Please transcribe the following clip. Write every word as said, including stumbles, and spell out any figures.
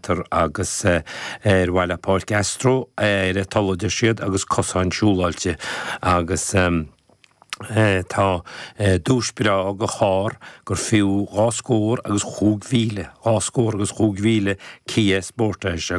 cheantar agus ar mhaithe le Páirc Astro ar a toil, a deir siad, agus cosáin siúláilte agus tá duais breá de charr gur fiú dhá scór agus chúig mhíle, dhá scór agus chúig mhíle, Kia Sportage.